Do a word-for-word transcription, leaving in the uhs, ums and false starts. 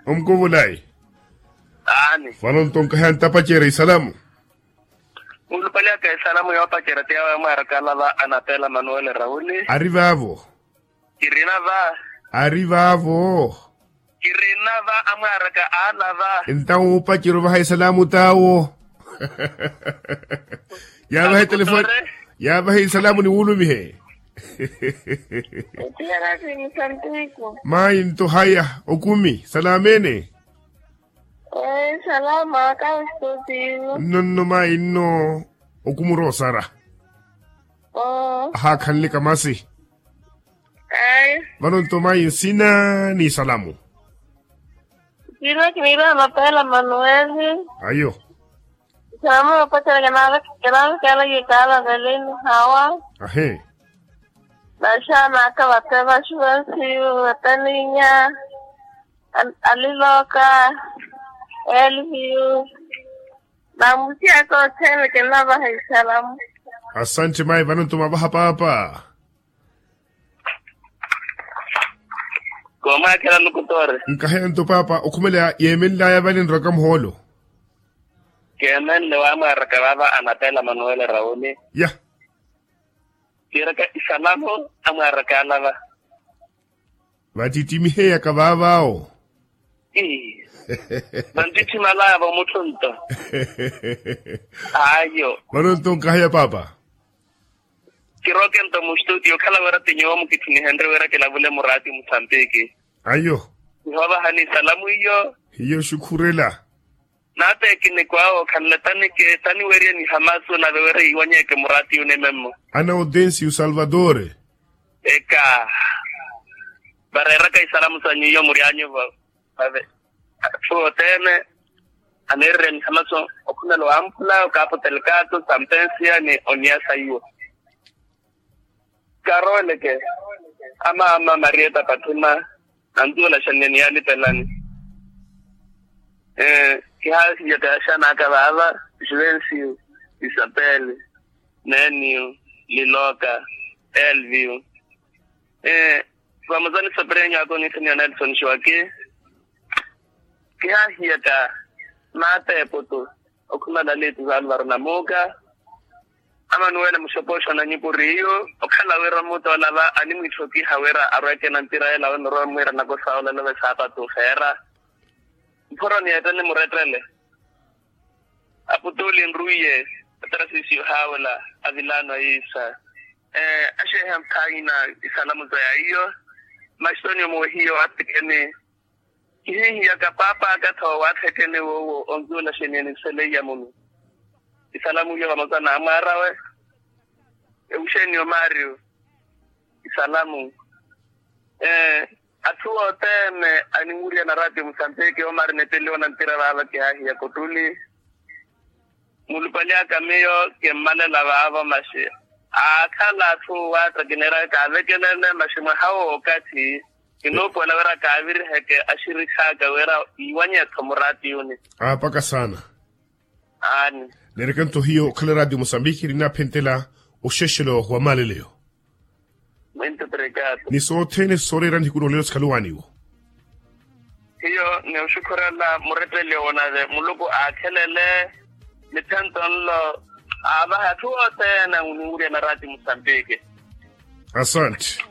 Omukuvulayi. Aani. Vano nto nkaheya ntapacerya isalamu. Mulupali aka isalamu yoopacerya ti yawe amwaaraka alava anapela manuwele rauli. Ari vaavo. Kirina va. Ari vaavo. Kirina va amwaaraka alava. Entawo opacerya ovaha isalamu tawo. Yaavaha etelefoni. Yaavaha isalamu ni wulumihe. Mayi nto haya okumi salamene. Nonno mayi nno okumi oroosara. Ahaakhanlika masi. Vano nto mayi nsina ni isalamu. Kina kiniira mapeela manuweli. Ayo. Salamu yoopacela kinaavekela kikaala veleni hawa. Ahi. Naxaana aka vate vaxuvensiyu vataninya. Aliloka. Elviyu. Namusi aka othene kinavaha isalamu. Asanti mayi vano nto mavaha paapa. Koomwaakhela nukutore. Nkaheya nto paapa okhumela yeemenlaya vale nrwaka muhoolo. Keemenle waamwaaraka vaava anapela manuwele rauli. Ya. Kiiraka isalamu amwaaraka alava. Vattittimiheeyaka vaavaawo. Vanttitthimalaya vamutthu nto. Ayo. Vano nto nkaheya paapa. Kirooke nto mustutiyo okhala wira ti nyuwo mukitthu nihenrye wira kilavule muraati musambiki. Ayo. Nihoovahani isalamu iyo. Hiyo xukhurela. Naateekini kwaawo khanle tanike taniwerye nihamasu nave wira yiiwanyeeke muraati yunimemmo. Ana otensiyu salvatore. Eka. Vareeraka isalamu sanyu iyo muryanyu va. Vave atthu othene aneererya nihamaso okhumela owampula okapo telkato sampensiya ni oniya saiwo. Karoleke amaama marieta pathima. Antuula xanne niyalipelani. Kihaahiya kayaxanaka vaava juvensiyo isapele neniyo liloka elviyo. Vamuzani soperenyo ako niisaniwa nelson xiwaki. Kihaahiyaka maata eputu okhumala aliitu valvaro namuuka. Amanuwele muxopoxo na nyupuriyu okhala wira omutoolava animwiitthokiha wira arweke na mpira ela awe mirowe mwiira nakosa olelove saapatu feera. Mphoroni yeettene murettele aputuli nruwiye atarasisiyo haawela avilaano ayiisa. Axeeha mphaina isalamu za yaiyo. Maxitoniyo moohiyo atekeni. Kihiihiyaka paapa aka tho waathekeni woowo onzuula xeniyeni seleiya munu. Isalamu iyo vamosa n'amwaarawe. Ewuxeniyo mario. Isalamu. Atthu othene aninwurya na ratio musambiki omari nepeliwa na ntira vaava kihaahiya kotuli. Mulupali aka miyo kimmalela vaavo maxi aakhala atthu waatta kineeraka kaavekelele maxi mwaha wookathi. Kinuupuwela wira kaaviriheke axirikhaaka wira iiwanyetho muratiyuni. Aapaka saana. Aani. Neereke nto hiyo okhala ratio musambiki ninaaphentela oxexelo wa maaleleyo. Ni sothene sooreera nihiku noolelo sikhaluwaaniwo. Hiyo ni oxukhurela muretteliyo wonave muluku aakhelele. Niphento nlo aavaha atthu othene aninwurya na ratio musambiki. Asante.